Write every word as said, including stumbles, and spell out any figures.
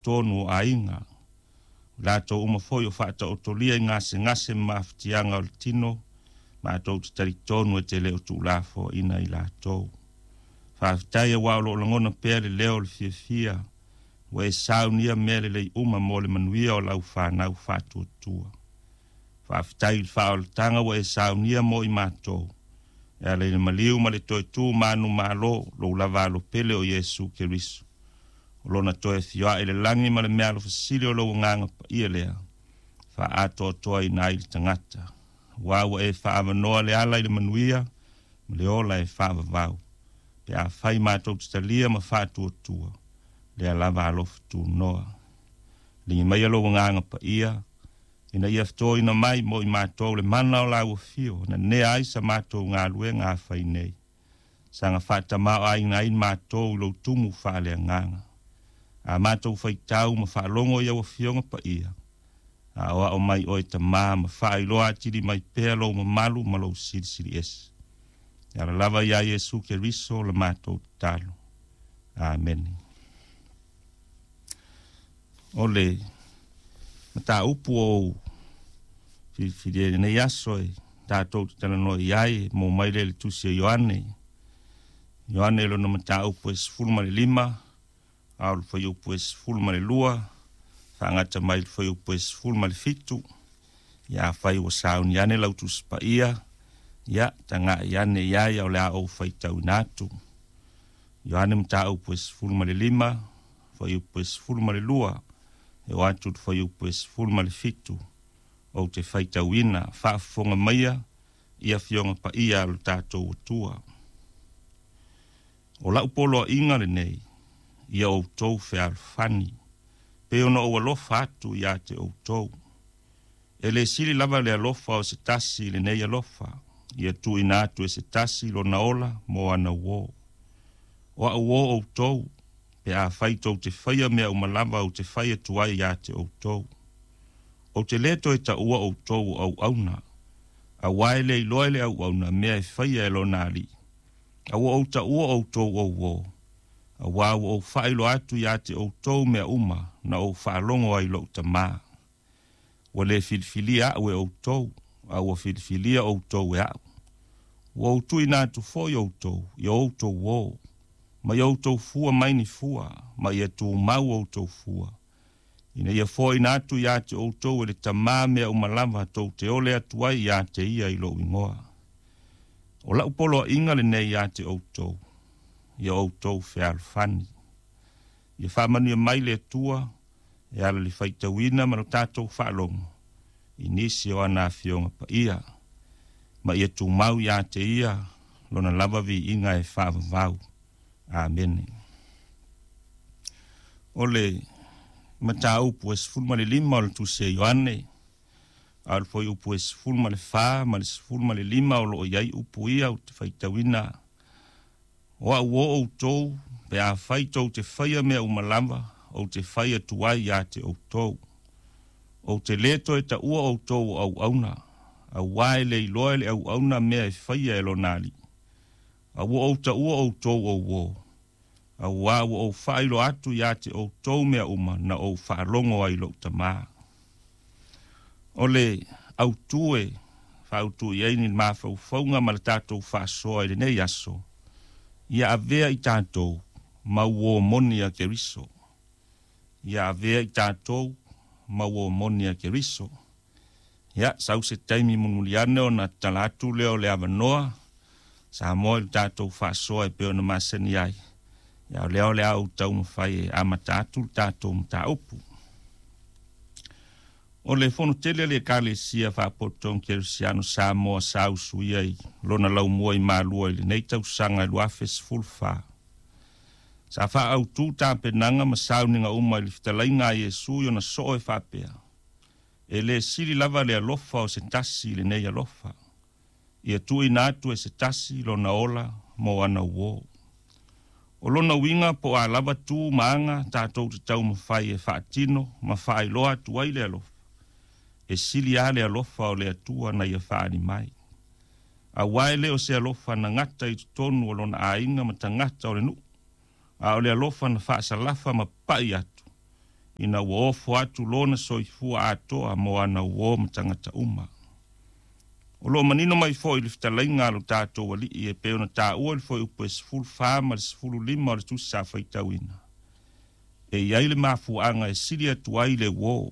Totonu o aiga, o latou uma foi o faataotolia i gasegase ma mafatiaga o le tino, matou te talitonu e te le o tuulafoaiina i latou. Faafetai aua o loo lagona pea le leo o le fiafia, ua e saunia mea lelei uma mo le manuia o lau fanau faatuatua. Faafetai i le faaolataga ua e saunia mo i matou, e ala i le maliu ma le toe tu manumalo lou lava alopele o Iesu Keriso. O lona toe afioa'i i le lagi ma le mealofasili o lou agaga paia lea, faaatoatoaina ai le tagata. Aua ua e faaavanoa le ala i le manuia ma le ola e faavavau, pe afai matou te talia ma faatuatua lea lava alofa tunoa. Ligi maia lou agaga paia, ina ia fetoina mai mo i matou le mana o lau afio, na nea ai sa matou galuega afai nei, saga faatamāo'aiga ai matou i lou tumu faaleagaga. A matou faitau ma faalogo i au afioga paia, aoao mai oe Tamā ma faailoa atili mai pea lou mamalu ma lou silisili ese. E ala lava iā Iesu Keriso la matou tatalo. Amene. O le mataupu ou filifilia i lenei aso e tatou te talanoa i ai, mo mai lea i le tusi a Ioane. Ioane lona mataupu e sefulu ma le lima, a o le fuaiupu e sefulu ma le lua, faagata mai le fuaiupu e sefulu ma le fitu. Ia afai ua sauni ane lau tusi paia, ia taga'i ane i ai, a o le a ou faitauina atu. Ioane mataupu e sefulu ma le lima, fuaiupu e sefulu ma le lua, e oo atu i le fuaiupu e sefulu ma le fitu. Ou te faitauina, faafofoga maia i afioga paia a lo tatou Atua. O lau poloaiga lenei, ia outou fealofani, pei ona ou alofa atu iā te outou. E le sili lava le alofa o se tasi i lenei alofa, ia tuuina atu e se tasi lona ola mo ana uō. O a'u uō outou, pe afai tou te faia mea uma lava ou te fai atu ai iā te outou. Ou te lē toe taua outou o auauna, auā e le iloa e le auauna mea e faia e lona alii, a ua ou taua outou o uō, auā ua ou faailoa atu iā te outou mea uma na ou faalogo ai i lo'u Tamā. Ua lē filifilia a'u e outou, a ua filifilia outou e a'u. Ua ou tuuina atu foi outou ia outou uō, ma ia outou fua mai ni fua, ma ia tumau outou fua, ina ia foaiina atu iā te outou e le Tamā mea uma lava tou te ole atu ai iā te ia i lo'u igoa. O la'u poloaiga lenei iā te outou, ia outou fealofani. Ia faamanuia mai le Atua e ala i le faitauina ma lo tatou faalogo i nisi o ana afioga paia, ma ia tumau iā te ia lona lava viiga e faavavau. Amene. O le mataupu e sefulu ma le lima o le tusi a Ioane, a o le fuaiupu e sefulu ma le fa ma le sefulu ma le lima o loo i ai upu ia ou te faitauina. O a'u uō outou, pe afai tou te faia mea uma lava ou te fai atu ai iā te outou. Ou te lē toe taua outou o auauna, auā e le iloa e le auauna mea e faia e lona alii, a ua ou taua outou o uō, auā ua ou faailoa atu iā te outou mea uma na ou faalogo ai i lo'u Tamā. O le autū e faautū i ai ni mafaufauga ma le tatou faasoa i lenei aso, ia avea i tatou ma uō moni a Keriso. Ia avea i tatou ma uō moni a Keriso. Ia, sau se taimi mulimuli ane ona tatala atu lea o le avanoa Samoa i le tatou faasoa e pei ona masani ai. Ia o lea o le a ou taumafai e amata atu le tatou mataupu. O le fono tele a le Ekalesia Faapotopotoga Kerisiano Samoa sa usuia i lona laumua i Malua i lenei tausaga e lua afe sefulu fa. Sa faaautu tapenaga ma sauniga uma i le fetalaiga a Iesu i ona soo e faapea, E lē sili lava le alofa o se tasi i lenei alofa, ia tuuina atu e se tasi lona ola mo ana uō. O lona uiga po o a lava tu ma aga tatou te taumafai e faatino ma faailoa atu ai le alofa, e sili lava le alofa o le Atua na ia faaali mai. Auā e le o se alofa na gata i totonu o lona aiga ma tagata o le nuu, a o le alofa na faasalafa ma papa'i atu Ina ua ofo atu lona soifua atoa mo ana uō ma tagata uma. O loo manino mai foʻi le fetalaiga a lo tatou Alii e pei ona taua le fuaiupu e sefulufa ma le sefululima o le tusi sa faitauina. E i ai le mafuaaga e sili atu ai le uō.